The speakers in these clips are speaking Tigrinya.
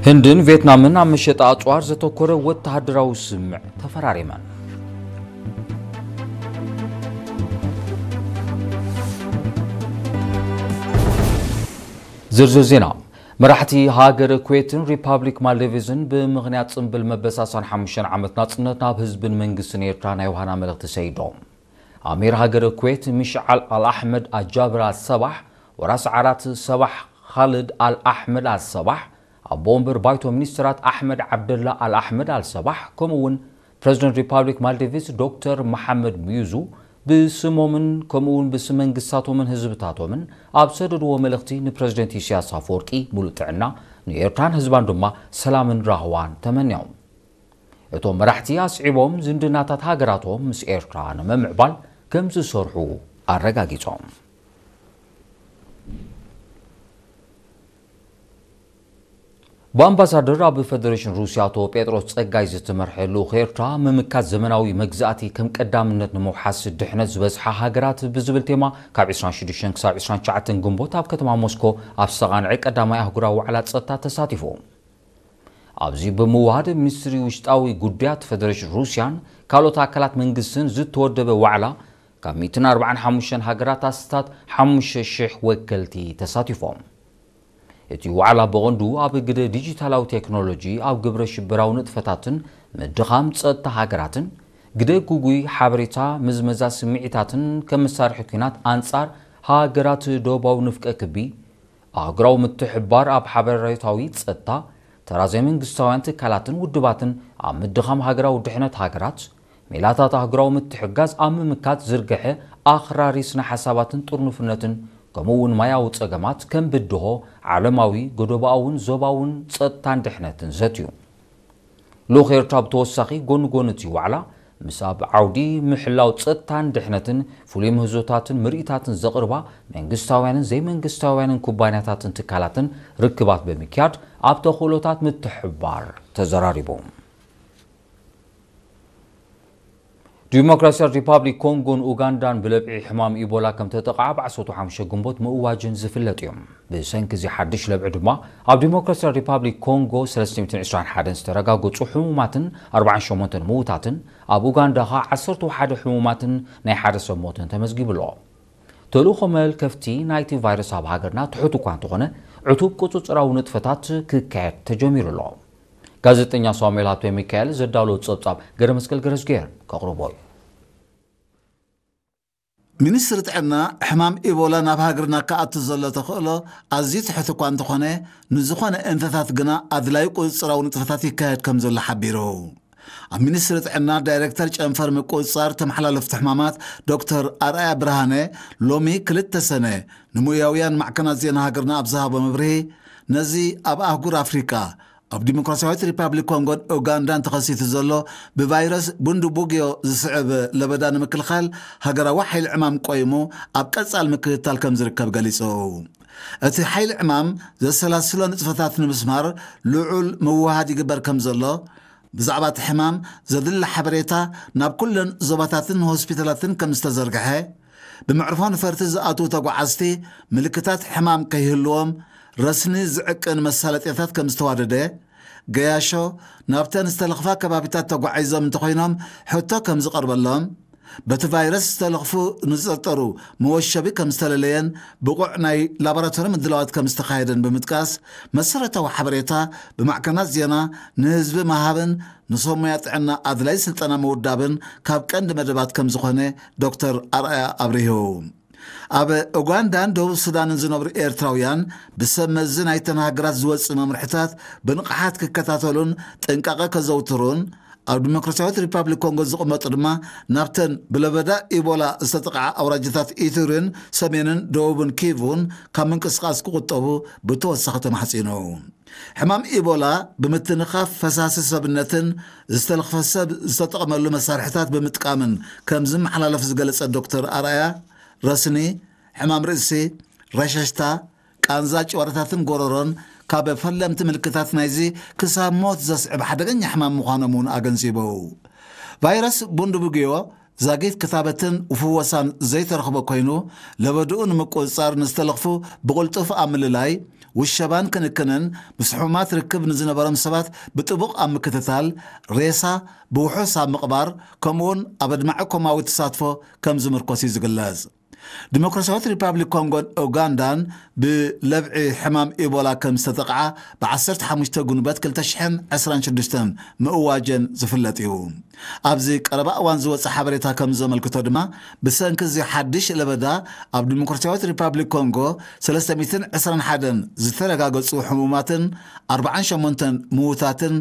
ህንድን ቪየትናምን ኣብ መሸጣ ኣጽዋር ዘተኮረ ወተሃደራዊ ስምምዕ ተፈራሪመን። ዝርዝር ዜና። መራሕቲ ሃገረ ኩዌትን ሪፓብሊክ ማልዲቭስን ብምኽንያት ጽምብል መበል ሰላሳን ሓሙሽተን ዓመት ናጽነት ናብ ህዝብን መንግስትን ኤርትራ ናይ ዮሃና መልእኽቲ ሰይዶም። ኣሚር ሃገረ ኩዌት ሚሽዓል ኣልኣሕመድ ኣጃብር ኣልሰባሕ፣ ወራስ ዓራት ሰባሕ ኻልድ ኣልኣሕመድ ኣልሰባሕ፣ ኣቦ ወንበር ባይቶ ሚኒስትራት ኣሕመድ ዓብደላ ኣልኣሕመድ ኣልሰባሕ፣ ከምኡ እውን ፕረዚደንት ሪፓብሊክ ማልዲቭስ ዶክተር መሓመድ ሙዩዙ ብስሞምን ከምኡ እውን ብስም መንግስታቶምን ህዝብታቶምን ኣብ ሰደድዎ መልእኽቲ ንፕረዚደንት ኢሳያስ ኣፈወርቂ ሙሉእ ጥዕና፣ ንኤርትራን ህዝባን ድማ ሰላምን ራህዋን ተመንዮም። እቶም መራሕቲ ኣስዒቦም ዝምድናታት ሃገራቶም ምስ ኤርትራ ንምምዕባል ከም ዝሰርሑ ኣረጋጊጾም። ብኣምባሳደር ኣብ ፈደሬሽን ሩስያ ኣቶ ጴጥሮስ ጸጋይ ዝተመርሐ ልኡኽ ኤርትራ፣ ምምካት ዘመናዊ መግዛእቲ ከም ቀዳምነት ንምውሓስ ድሕነት ዝበዝሓ ሃገራት ብዝብል ቴማ ካብ ዕስራን ሽዱሽተን ክሳብ ዕስራን ትሽዓተን ግንቦት ኣብ ከተማ ሞስኮ ኣብ ዝተቓንዐ ቀዳማይ ኣህጉራዊ ዋዕላ ጸጥታ ተሳቲፉ። ኣብዚ ብምውሃድ ሚኒስትሪ ውሽጣዊ ጉዳያት ፈደሬሽን ሩስያን ካልኦት ኣካላት መንግስትን ዝተወደበ ዋዕላ ካብ ሚእትን ኣርባዓን ሓሙሽተን ሃገራት ኣስታት ሓሙሽተ ሽሕ ወከልቲ ተሳቲፎም። እቲ ዋዕላ ብቐንዱ ኣብ ግደ ዲጂታላዊ ቴክኖሎጂ፣ ኣብ ግብረ ሽበራዊ ንጥፈታትን ምድኻም ጸጥታ ሃገራትን፣ ግደ ጉጉይ ሓበሬታ፣ ምዝመዛ ስምዒታትን ከም መሳርሒ ኲናት ኣንጻር ሃገራት ደቡባዊ ንፍቀ ክቢ፣ ኣህጉራዊ ምትሕብባር ኣብ ሓበሬታዊ ጸጥታ፣ ተራ ዘይመንግስታውያን ትካላትን ውድባትን ኣብ ምድኻም ሃገራዊ ድሕነት ሃገራት፣ ሜላታት ኣህጉራዊ ምትሕግጋዝ ኣብ ምምካት ዝርግሐ ኣኽራሪ ስነ ሓሳባትን ጥርኑፍነትን፣ ከምኡ እውን ማያዊ ጸገማት ከም ብድሆ፣ ዓለማዊ፣ ጎደቦኣውን ዞባውን ጸጥታን ድሕነትን ዘትዩ። ልኡኽ ኤርትራ ብተወሳኺ ጎኒ ጎኒ እቲ ዋዕላ፣ ምስ ኣብ ዓውዲ ምሕላው ጸጥታን ድሕነትን ፍሉይ ምህዞታትን ምርኢታትን ዘቕርባ መንግስታውያንን ዘይመንግስታውያንን ኩባንያታትን ትካላትን ርክባት ብምክያድ ኣብ ተኽእሎታት ምትሕብባር ተዘራሪቡ። ዲሞክራሲያዊት ሪፓብሊክ ኮንጎን ኡጋንዳን ብለብዒ ሕማም ኢቦላ ከም ተጠቕዓ ብ ዓሰርተ ሓሙሽተ ግንቦት ምእዋጅን ዝፍለጥ እዩ። ብሰንኪ እዚ ሓድሽ ለብዒ ድማ ኣብ ዲሞክራሲያዊት ሪፓብሊክ ኮንጎ ሰለስተ ሚእትን ዕስራን ሓደን ዝተረጋገጹ ሕሙማትን ኣርባዓን ሸሞንተን ምዉታትን፣ ኣብ ኡጋንዳ ኸኣ ዓሰርተ ሓደ ሕሙማትን ናይ ሓደ ሰብ ሞትን ተመዝጊቡ ኣሎ። ተልእኾ መልከፍቲ ናይቲ ቫይረስ ኣብ ሃገርና ትሑት እኳ እንተኾነ፣ ዕቱብ ቁጽጽራዊ ንጥፈታት ክካየድ ተጀሚሩ ኣሎ። ጋዜጠኛ ሳሙኤል ሃብተ ሚካኤል ዘዳለዎ ጸብጻብ ገረመስቀል ገረዝጌር ከቕርቦ እዩ። ሚኒስትሪ ጥዕና፣ ሕማም ኢቦላ ናብ ሃገርና ክኣቱ ዘሎ ተኽእሎ ኣዝዩ ትሑት እኳ እንተኾነ፣ ንዝኾነ እንተታት ግና ኣድላዩ ቁጽጽራዊ ንጥፈታት ይካየድ ከም ዘሎ ሓቢሩ። ኣብ ሚኒስትሪ ጥዕና ዳይሬክተር ጨንፈር ምቁጽጻር ተመሓላለፍቲ ሕማማት ዶክተር ኣርኣያ ብርሃነ ሎሚ ክልተ ሰነ ንሞያውያን ማዕከናት ዜና ሃገርና ኣብ ዝሃቦ መብርሂ፣ ነዚ ኣብ ኣህጉር ኣፍሪቃ ኣብ ዲሞክራሲያዊት ሪፓብሊክ ኮንጎን ኡጋንዳን ተኸሲቱ ዘሎ ብቫይረስ ቡንዱቡግዮ ዝስዕብ ለበዳ ንምክልኻል ሃገራዊ ሓይሊ ዕማም ቆይሙ ኣብ ቀጻል ምክትታል ከም ዝርከብ ገሊጹ። እቲ ሓይሊ ዕማም ዘሰላስሎ ንጥፈታት ንምስማር ልዑል ምውህሃድ ይግበር ከም ዘሎ፣ ብዛዕባ እቲ ሕማም ዘድሊ ሓበሬታ ናብ ኩለን ዞባታትን ሆስፒታላትን ከም ዝተዘርግሐ፣ ብመዕርፎ ነፈርቲ ዝኣትዉ ተጓዓዝቲ ምልክታት ሕማም ከይህልዎም ረስኒ ዝዕቅን መሳለጥያታት ከም ዝተዋደደ፣ ገያሾ ናብተን ዝተለኽፋ ከባቢታት ተጓዒዞም እንተኾይኖም ሕቶ ከም ዝቐርበሎም፣ በቲ ቫይረስ ዝተለኽፉ ንዝጥርጠሩ መወሸቢ ከም ዝተለለየን ብቑዕ ናይ ላቦራቶሪ ምድላዋት ከም ዝተኻየደን ብምጥቃስ፣ መሰረታዊ ሓበሬታ ብማዕከናት ዜና ንህዝቢ ምሃብን ንሰብ ሞያ ጥዕና ኣድላይ ስልጠና ምውዳብን ካብ ቀንዲ መደባት ከም ዝኾነ ዶክተር ኣርኣያ ኣብሪሁ። ኣብ ኡጋንዳን ደቡብ ሱዳንን ዝነብሩ ኤርትራውያን ብሰብ መዚ ናይተን ሃገራት ዝወጽእ መምርሕታት ብንቕሓት ክከታተሉን ጥንቃቐ ከዘውትሩን፣ ኣብ ዲሞክራሲያዊት ሪፓብሊክ ኮንጎ ዝቕመጡ ድማ ናብተን ብለበዳ ኢቦላ ዝተጠቕዓ ኣውራጃታት ኢቱሪን ሰሜንን ደቡብን ኪቩን ካብ ምንቅስቓስ ክቑጠቡ ብተወሳኺ ተማሕጺኑ። ሕማም ኢቦላ ብምትንኻፍ ፈሳሲ ሰብነትን ዝተለኽፈ ሰብ ዝተጠቕመሉ መሳርሕታት ብምጥቃምን ከም ዝመሓላለፍ ዝገለጸ ዶክተር ኣርኣያ፣ ረስኒ፣ ሕማም ርእሲ፣ ረሸሽታ፣ ቃንዛ ጭዋዳታትን ጎረሮን ካብ ፈለምቲ ምልክታት ናይዚ ክሳብ ሞት ዘስዕብ ሓደገኛ ሕማም ምዃኖም እውን ኣገንዚቡ። ቫይረስ ቡንዱቡግዮ ዛጊት ክታበትን ፍወሳን ዘይተረኽቦ ኮይኑ፣ ለበድኡ ንምቁጽጻር ንዝተለኽፉ ብቕልጡፍ ኣብ ምልላይ፣ ውሸባን ክንክንን ምስ ሕሙማት ርክብ ንዝነበሮም ሰባት ብጥቡቕ ኣብ ምክትታል፣ ሬሳ ብውሑስ ኣብ ምቕባር፣ ከምኡውን ኣብ ኣድማዒ ኮማዊ ተሳትፎ ከም ዝምርኮስ እዩ ዝግለጽ። ዲሞክራሲያዊት ሪፓብሊክ ኮንጎን ኡጋንዳን ብለብዒ ሕማም ኢቦላ ከም ዝተጠቕዓ ብ15 ጉንበት ክልተ ሽሕን ዕስራን ሽዱሽተን ምእዋጀን ዝፍለጥ እዩ። ኣብዚ ቀረባ እዋን ዝወጸ ሓበሬታ ከም ዘመልክቶ ድማ፣ ብሰንኪ እዚ ሓድሽ ለበዳ ኣብ ዲሞክራሲያዊት ሪፓብሊክ ኮንጎ ሰለስተ ሚእትን ዕስራን ሓደን ዝተረጋገጹ ሕሙማትን ኣርባዓን ሸሞንተን ምዉታትን፣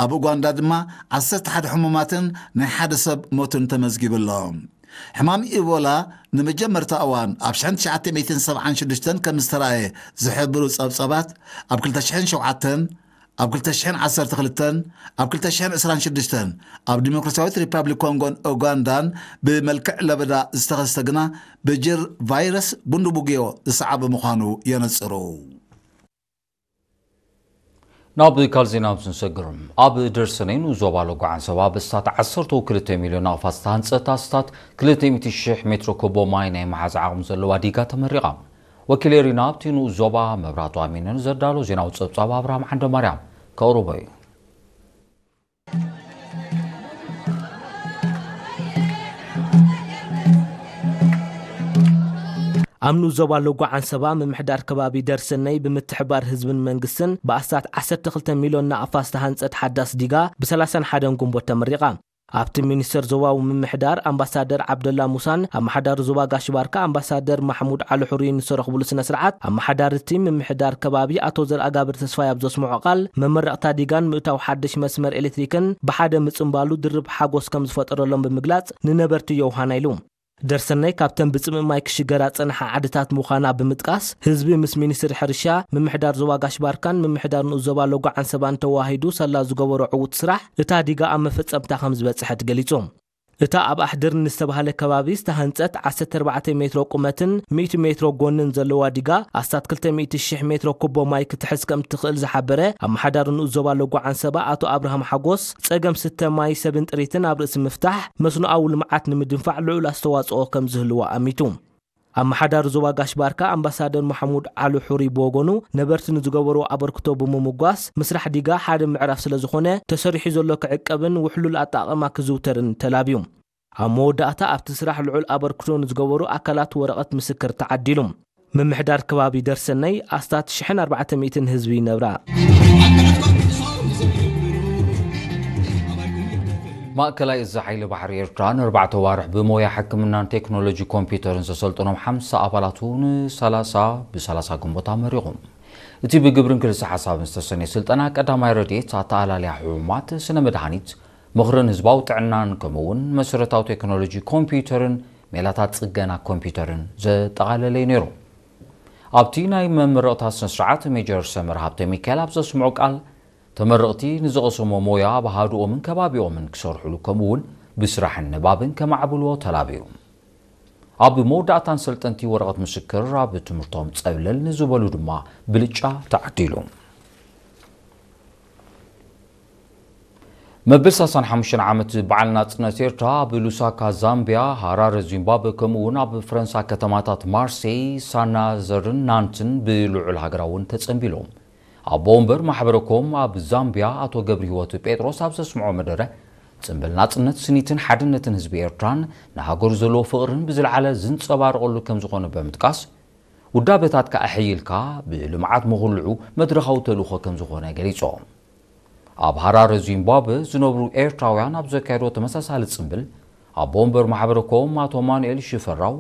ኣብ ኡጋንዳ ድማ ዓሰርተ ሓደ ሕሙማትን ናይ ሓደ ሰብ ሞትን ተመዝጊቡ ኣሎ። ሕማም ኢቦላ ንመጀመርታ እዋን ኣብ ሽሕን ትሽዓተ ሚእትን ሰብዓን ሽዱሽተን ከም ዝተራእየ ዝሕብሩ ጸብጸባት፣ ኣብ ክልተ ሽሕን ሸውዓተን፣ ኣብ ክልተ ሽሕን ዓሰርተ ክልተን፣ ኣብ ክልተ ሽሕን ዕስራን ሽዱሽተን ኣብ ዲሞክራሲያዊት ሪፓብሊክ ኮንጎን ኡጋንዳን ብመልክዕ ለበዳ ዝተኸስተ ግና ብጅር ቫይረስ ቡንዱቡግዮ ዝሰዓበ ምዃኑ የነጽሩ። ናብ ካልእ ዜና ምስ ንሰግር፣ ኣብ ደርሰነይ ንኡስ ዞባ ሎጎ ዓንሰባ ብእስታት ዓሰርተ ክልተ ሚልዮን ናቕፋት ዝተሃንጸት ኣስታት ክልተ ሚእቲ ሽሕ ሜትሮ ኩቦ ማይ ናይ መሓዝ ዓቕሚ ዘለዋ ዲጋ ተመሪቓ። ወኪል ኤሪና ኣብቲ ንኡስ ዞባ መብራህቱ ኣሚነ ንዘዳሎ ዜናዊ ጸብጻብ ኣብርሃም ዓንደማርያም ከቕርቦ እዩ። ኣብ ንኡስ ዞባ ሎጎ ዓንሰባ ምምሕዳር ከባቢ ደርሰነይ ብምትሕባር ህዝብን መንግስትን ብኣስታት ዓሰርተ ክልተ ሚልዮን ናቕፋ ዝተሃንጸት ሓዳስ ዲጋ ብ31 ጉንቦት ተመሪቓ። ኣብቲ ሚኒስተር ዞባዊ ምምሕዳር ኣምባሳደር ዓብደላ ሙሳን ኣመሓዳሪ ዞባ ጋሽ ባርካ ኣምባሳደር ማሕሙድ ዓሊ ሑሪን ዝተረኽብሉ ስነ ስርዓት፣ ኣመሓዳሪ እቲ ምምሕዳር ከባቢ ኣቶ ዘርኣጋብር ተስፋይ ኣብ ዘስምዖ ቃል፣ መመረቕታ ዲጋን ምእታው ሓድሽ መስመር ኤሌክትሪክን ብሓደ ምጽንባሉ ድርብ ሓጎስ ከም ዝፈጠረሎም ብምግላጽ፣ ንነበርቲ የውሃና ኢሉ። ደርሰነይ ካብተን ብጽምእ ማይ ክሽገራ ጸንሓ ዓድታት ምዃና ብምጥቃስ፣ ህዝቢ ምስ ሚኒስትሪ ሕርሻ፣ ምምሕዳር ዞባ ጋሽ ባርካን ምምሕዳር ንኡስ ዞባ ሎጎ ዓንሰባን ተዋሂዱ ሳላ ዝገበሮ ዕዉት ስራሕ፣ እታ ዲጋ ኣብ መፈጸምታ ከም ዝበጽሐት ገሊጹ። እታ ኣብ ኣሕድር ንዝተባህለ ከባቢ ዝተሃንጸት ዓሰርተ ኣርባዕተ ሜትሮ ቁመትን ሚእቲ ሜትሮ ጎንን ዘለዋ ዲጋ፣ ኣስታት ክልተ ሚእቲ ሽሕ ሜትሮ ኩቦ ማይ ክትሕዝ ከም ትኽእል ዝሓበረ ኣመሓዳሪ ንኡስ ዞባ ሎጎ ዓንሰባ ኣቶ ኣብርሃም ሓጎስ፣ ጸገም ስተ ማይ ሰብን ጥሪትን ኣብ ርእሲ ምፍታሕ፣ መስኖኣዊ ልምዓት ንምድንፋዕ ልዑል ኣስተዋጽኦ ከም ዝህልዎ ኣሚቱ። ኣመሓዳሪ ዞባ ጋሽ ባርካ ኣምባሳደር ማሕሙድ ዓሊ ሑሪ ብወገኑ፣ ነበርቲ ንዝገበርዎ ኣበርክቶ ብምምጓስ፣ ምስራሕ ዲጋ ሓደ ምዕራፍ ስለ ዝኾነ፣ ተሰሪሑ ዘሎ ክዕቀብን ውሕሉል ኣጠቓቕማ ክዝውተርን ተላብዩ። ኣብ መወዳእታ፣ ኣብቲ ስራሕ ልዑል ኣበርክቶ ንዝገበሩ ኣካላት ወረቐት ምስክር ተዓዲሉ። ምምሕዳር ከባቢ ደርሰነይ ኣስታት ሽሕን ኣርባዕተ ሚእትን ህዝቢ ይነብራ። ማእከላይ እዚ ሓይሊ ባሕሪ ኤርትራ ንኣርባዕተ ዋርሕ ብሞያ ሕክምናን ቴክኖሎጂ ኮምፒውተርን ዘሰልጠኖም ሓምሳ ኣባላቱ ንሰላሳ፣ ብ30 ግንቦት ኣመሪቑ። እቲ ብግብርን ክልሰ ሓሳብን ዝተሰነየ ስልጠና ቀዳማይ ረድኤት፣ ኣተኣላልያ ሕሙማት፣ ስነ መድሃኒት፣ ምኽርን ህዝባዊ ጥዕናን ከምኡ እውን መሰረታዊ ቴክኖሎጂ ኮምፒውተርን ሜላታት ጽገና ኮምፒውተርን ዘጠቓለለ እዩ ነይሩ። ኣብቲ ናይ መመረቕታ ስነ ስርዓት ሜጀር ሰመር ሃብተ ሚካኤል ኣብ ዘስምዖ ቃል፣ ተመረቕቲ ንዝቐሰሞ ሞያ ኣብ ሃዱኦምን ከባቢኦምን ክሰርሕሉ ከምኡ እውን ብስራሕን ንባብን ከማዕብልዎ ተላብዩ። ኣብ መወዳእታን ሰልጠንቲ ወረቐት ምስክር ኣብ ትምህርቶም ጸብለል ንዝበሉ ድማ ብልጫ ተዓዲሉ። መበል ሰላሳን ሓሙሽተን ዓመት በዓል ናጽነት ኤርትራ ኣብ ሉሳካ ዛምቢያ፣ ሃራረ ዚምባብወ ከምኡ እውን ኣብ ፈረንሳ ከተማታት ማርሴይ፣ ሳናዘርን ናንትን ብልዑል ሃገራዊ እውን ተጸንቢሎም። ኣቦ ወንበር ማሕበረ ኮም ኣብ ዛምቢያ ኣቶ ገብረ ህይወት ጴጥሮስ ኣብ ዘስምዖ መደረ፣ ጽምብል ናጽነት ስኒትን ሓድነትን ህዝቢ ኤርትራን ንሃገሩ ዘለዎ ፍቕርን ብዝለዓለ ዝንጸባረቐሉ ከም ዝኾነ ብምጥቃስ፣ ውዳበታትካ ኣሕይልካ ብልምዓት ምኹልዑ መድረኻዊ ተልእኾ ከም ዝኾነ ገሊጾም። ኣብ ሃራረ ዚምባብወ ዝነብሩ ኤርትራውያን ኣብ ዘካየድዎ ተመሳሳሊ ጽምብል፣ ኣቦ ወንበር ማሕበረ ኮም ኣቶ ኣማኑኤል ሽፈራው፣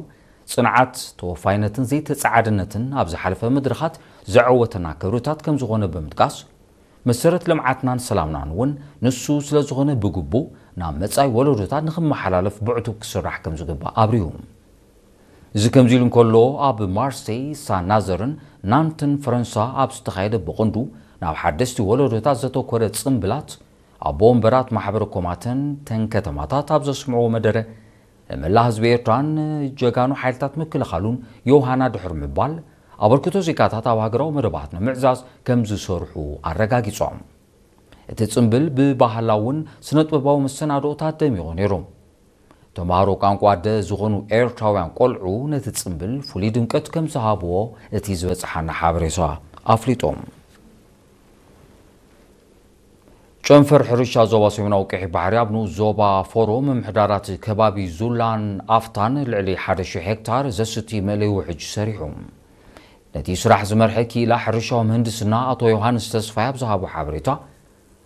ጽንዓት፣ ተወፋይነትን ዘይተጻዓድነትን ኣብ ዝሓለፈ መድረኻት ዘዐወተና ክብርታት ከም ዝኾነ ብምጥቃስ፣ መሰረት ልምዓትናን ሰላምናን እውን ንሱ ስለ ዝኾነ ብግቡእ ናብ መጻኢ ወለዶታት ንኽመሓላለፍ ብዕቱብ ክስራሕ ከም ዝግባእ ኣብሪሁ። እዚ ከምዚ ኢሉ እንከሎ፣ ኣብ ማርሴይ፣ ሳናዘርን ናንትን ፈረንሳ ኣብ ዝተኻየደ ብቐንዱ ናብ ሓደስቲ ወለዶታት ዘተኮረ ጽምብላት፣ ኣቦ ወንበራት ማሕበረ ኮማትን ተን ከተማታት ኣብ ዘስምዕዎ መደረ፣ ንመላእ ህዝቢ ኤርትራን ጀጋኑ ሓይልታት ምክልኻሉን ዮሃና ድሕሪ ምባል፣ ኣበርክቶ ዜጋታት ኣብ ሃገራዊ መደባት ንምዕዛዝ ከም ዝሰርሑ ኣረጋጊጾም። እቲ ጽምብል ብባህላውን ስነ-ጥበባዊ መሰናድኦታት ደሚቑ ነይሩ። ተምሃሮ ቋንቋ ኣደ ዝኾኑ ኤርትራውያን ቆልዑ ነቲ ጽምብል ፍሉይ ድምቀት ከም ዝሃብዎ እቲ ዝበጽሓና ሓበሬታ ኣፍሊጡ። ጨንፈር ሕርሻ ዞባ ሰሜናዊ ቀይሕ ባሕሪ ኣብ ንኡስ ዞባ ፎሮ ምምሕዳራት ከባቢ ዙላን ኣፍታን ልዕሊ ሓደ ሺሕ ሄክታር ዘስቲ መእለይ ውሕጅ ሰሪሑ። ነቲ ስራሕ ዝመርሐ ክኢላ ሕርሻዊ ምህንድስና ኣቶ ዮሃንስ ተስፋይ ኣብ ዝሃቦ ሓበሬታ፣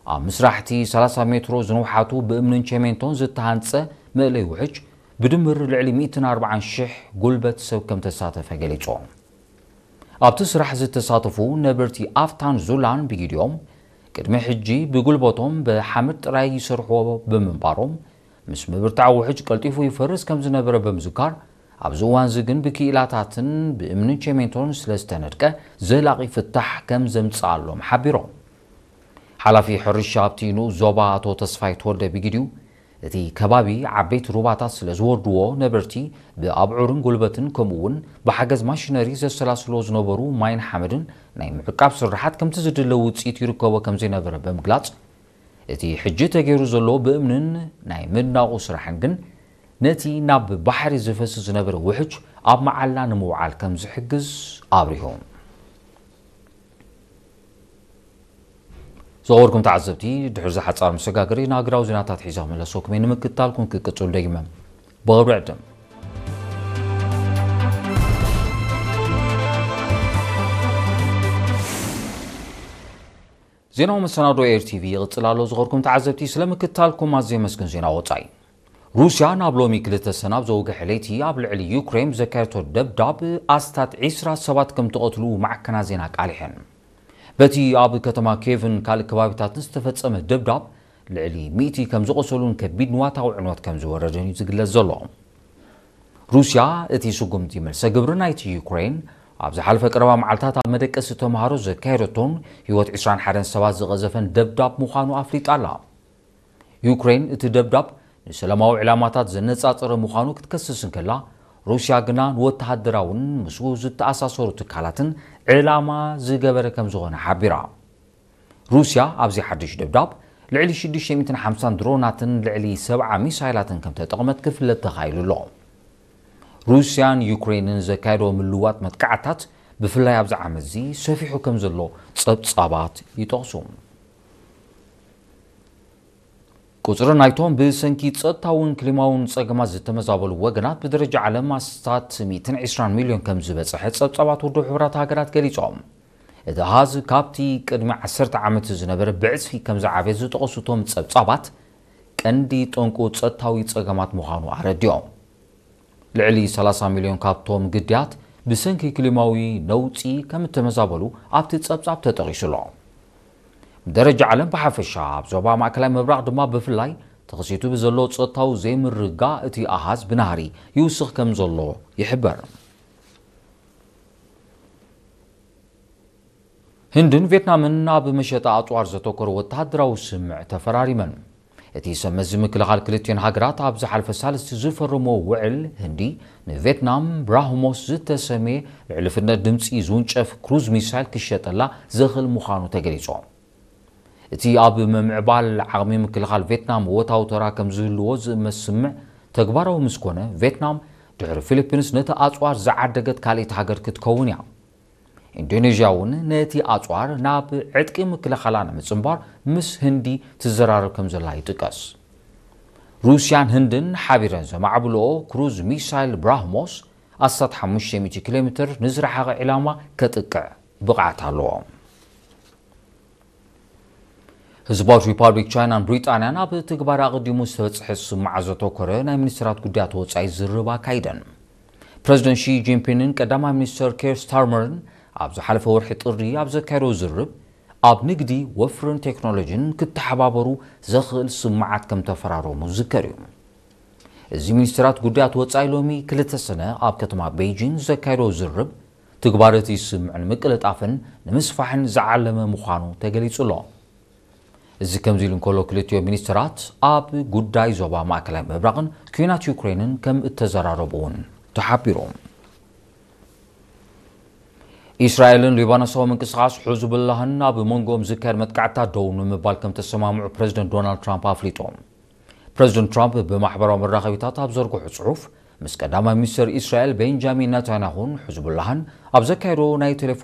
ኣብ ምስራሕቲ ሰላሳ ሜትሮ ዝንውሓቱ ብእምንን ቸሜንቶን ዝተሃንጸ መእለይ ውሕጅ ብድምር ልዕሊ ሚእትን ኣርባዓን ሽሕ ጉልበት ሰብ ከም ተሳተፈ ገሊጹ። ኣብቲ ስራሕ ዝተሳተፉ ነበርቲ ኣፍታን ዙላን ብጊዲኦም ቅድሚ ሕጂ ብጉልበቶም ብሓመድ ጥራይ ይሰርሕዎ ብምንባሮም፣ ምስ ምብርታዕ ውሕጅ ቀልጢፉ ይፈርስ ከም ዝነበረ ብምዝካር፣ ኣብዚ እዋን እዚ ግን ብክኢላታትን ብእምንን ቸሜንቶን ስለ ዝተነድቀ ዘላቒ ፍታሕ ከም ዘምጽኣሎም ሓቢሮም። ሓላፊ ሕርሻ ኣብቲ ንኡስ ዞባ ኣቶ ተስፋይ ተወልደ ብጊዲኡ፣ እቲ ከባቢ ዓበይቲ ሩባታት ስለ ዝወርድዎ ነበርቲ ብኣብዑርን ጉልበትን ከምኡ እውን ብሓገዝ ማሽነሪ ዘሰላስልዎ ዝነበሩ ማይን ሓመድን ናይ ምዕቃብ ስራሓት ከምቲ ዝድለ ውፅኢት ይርከቦ ከም ዘይነበረ ብምግላፅ፣ እቲ ሕጂ ተገይሩ ዘሎ ብእምንን ናይ ምድናቑ ስራሕን ግን ነቲ ናብ ባሕሪ ዝፈስስ ዝነበረ ውሕጅ ኣብ መዓላ ንምውዓል ከም ዝሕግዝ ኣብሪሁ። ዝኸበርኩም ተዓዘብቲ፣ ድሕሪ ዝሓጻር መሰጋገሪ ንሃገራዊ ዜናታት ሒዛ ክምለሰኩም እየ። ንምክትታልኩም ክቅጽሉ ደጊመ ብኽብሪ ዕድም። ዜናዊ መሰናዶ ኤር ቲቪ ይቕጽል ኣሎ። ዝኸበርኩም ተዓዘብቲ፣ ስለ ምክትታልኩም ኣዝየ የመስግን። ዜና ወጻኢ። ሩስያ ናብ ሎሚ ክልተ ሰነ ኣብ ዘውግሐ ለይቲ ኣብ ልዕሊ ዩክሬን ብዘካየደቶ ደብዳብ ኣስታት ዒስራ ሰባት ከም ተቐትሉ ማዕከናት ዜና ኣቃሊሐን። በቲ ኣብ ከተማ ኬቭን ካልእ ከባቢታትን ዝተፈጸመ ደብዳብ ልዕሊ ሚእቲ ከም ዝቖሰሉን ከቢድ ንዋታዊ ዕንወት ከም ዝወረደን እዩ ዝግለጽ ዘሎ። ሩስያ እቲ ስጉምቲ መልሰ ግብሪ ናይቲ ዩክሬን ኣብ ዝሓለፈ ቀረባ መዓልታት ኣብ መደቀሲ ተምሃሮ ዘካየደቶን ህይወት ዒስራን ሓደን ሰባት ዝቐዘፈን ደብዳብ ምዃኑ ኣፍሊጣ ኣላ። ዩክሬን እቲ ደብዳብ ንሰላማዊ ዕላማታት ዘነጻጸረ ምዃኑ ክትከስስ እንከላ፣ ሩስያ ግና ንወተሃደራውን ምስኡ ዝተኣሳሰሩ ትካላትን ዕላማ ዝገበረ ከም ዝኾነ ሓቢራ። ሩስያ ኣብዚ ሓድሽ ደብዳብ ልዕሊ ሽዱሽተ ሚእትን ሓምሳን ድሮናትን ልዕሊ ሰብዓ ሚሳይላትን ከም ተጠቕመት ክፍለጥ ተኻኢሉ ኣሎ። ሩስያን ዩክሬንን ዘካየዶ ምልዋጥ መጥቃዕታት ብፍላይ ኣብዚ ዓመት እዚ ሰፊሑ ከም ዘሎ ጸብጻባት ይጠቕሱ። ቁጽሪ ናይቶም ብሰንኪ ጸጥታውን ክሊማውን ጸገማት ዝተመዛበሉ ወገናት ብደረጃ ዓለም ኣስታት ሚእትን ዕስራን ሚልዮን ከም ዝበጽሐ ጸብጻባት ውድብ ሕቡራት ሃገራት ገሊጾም። እቲ ኣሃዝ ካብቲ ቅድሚ ዓሰርተ ዓመት ዝነበረ ብዕጽፊ ከም ዝዓበየ ዝጠቐሱ እቶም ጸብጻባት፣ ቀንዲ ጠንቁ ጸጥታዊ ጸገማት ምዃኑ ኣረዲኦም። ልዕሊ ሰላሳ ሚልዮን ካብቶም ግዳያት ብሰንኪ ክሊማዊ ነውጺ ከም እተመዛበሉ ኣብቲ ጸብጻብ ተጠቒሱ ኣሎ። ብደረጃ ዓለም ብሓፈሻ፣ ኣብ ዞባ ማእከላይ ምብራቕ ድማ ብፍላይ፣ ተኸሲቱ ብዘሎ ጸጥታዊ ዘይምርግጋእ እቲ ኣሃዝ ብናህሪ ይውስኽ ከም ዘሎ ይሕበር። ህንድን ቬትናምን ኣብ መሸጣ ኣጽዋር ዘተኮረ ወተሃደራዊ ስምምዕ ተፈራሪመን። እቲ ሰብ መዚ ምክልኻል ክልቲኦን ሃገራት ኣብ ዝሓለፈ ሳልስቲ ዝፈረሞ ውዕል፣ ህንዲ ንቬትናም ብራህሞስ ዝተሰምየ ልዕሊ ፍጥነት ድምጺ ዝውንጨፍ ክሩዝ ሚሳይል ክሸጠላ ዘኽእል ምዃኑ ተገሊጹ። እቲ ኣብ ምምዕባል ዓቕሚ ምክልኻል ቬትናም እወታዊ ተራ ከም ዝህልዎ ዝእመት ስምምዕ ተግባራዊ ምስ ኮነ፣ ቬትናም ድሕሪ ፊሊፒንስ ነቲ ኣጽዋር ዝዓደገት ካልኣይቲ ሃገር ክትከውን እያ። ኢንዶኔዥያ እውን ነቲ ኣጽዋር ናብ ዕጥቂ ምክልኻላ ንምጽንባር ምስ ህንዲ ትዘራረብ ከም ዘላ ይጥቀስ። ሩስያን ህንድን ሓቢረን ዘማዕብልኦ ክሩዝ ሚሳይል ብራህሞስ ኣስታት ሓሙሽተ ሚእቲ ኪሎ ሜትር ንዝረሓቐ ዒላማ ከጥቅዕ ብቕዓት ኣለዎ። ህዝባዊት ሪፓብሊክ ቻይናን ብሪጣንያን ኣብ ትግባረ ኣቐዲሙ ዝተበጽሐ ስምምዓት ዘተኮረ ናይ ሚኒስትራት ጉዳያት ወጻኢ ዝርርብ ኣካይደን። ፕረዚደንት ሺ ጂንፒንግን ቀዳማይ ሚኒስትር ኬር ስታርመርን ኣብ ዝሓለፈ ወርሒ ጥሪ ኣብ ዘካየዶ ዝርርብ፣ ኣብ ንግዲ፣ ወፍርን ቴክኖሎጂን ክተሓባበሩ ዘኽእል ስምምዓት ከም ተፈራረሙ ዝዝከር እዩ። እዚ ሚኒስትራት ጉዳያት ወጻኢ ሎሚ ክልተ ሰነ ኣብ ከተማ ቤይጂን ዘካየዶ ዝርርብ፣ ትግባረ እቲ ስምምዕ ንምቅልጣፍን ንምስፋሕን ዝዓለመ ምዃኑ ተገሊጹ ኣሎ። እዚ ከምዚ ኢሉ እንከሎ፣ ክልቲኦም ሚኒስትራት ኣብ ጉዳይ ዞባ ማእከላይ ምብራቕን ኲናት ዩክሬንን ከም እተዘራረቡ እውን ተሓቢሩ። እስራኤልን ሊባኖሳዊ ምንቅስቓስ ሕዝቡላህን ኣብ መንጎኦም ዝካየድ መጥቃዕትታት ደው ንምባል ከም ተሰማምዑ ፕረዚደንት ዶናልድ ትራምፕ ኣፍሊጡ። ፕረዚደንት ትራምፕ ብማሕበራዊ መራኸቢታት ኣብ ዘርግሖ ጽሑፍ፣ ምስ ቀዳማይ ሚኒስትር እስራኤል ቤንጃሚን ነታንያሁን ሕዝቡላህን ኣብ ዘካየዶ ናይ ቴሌፎን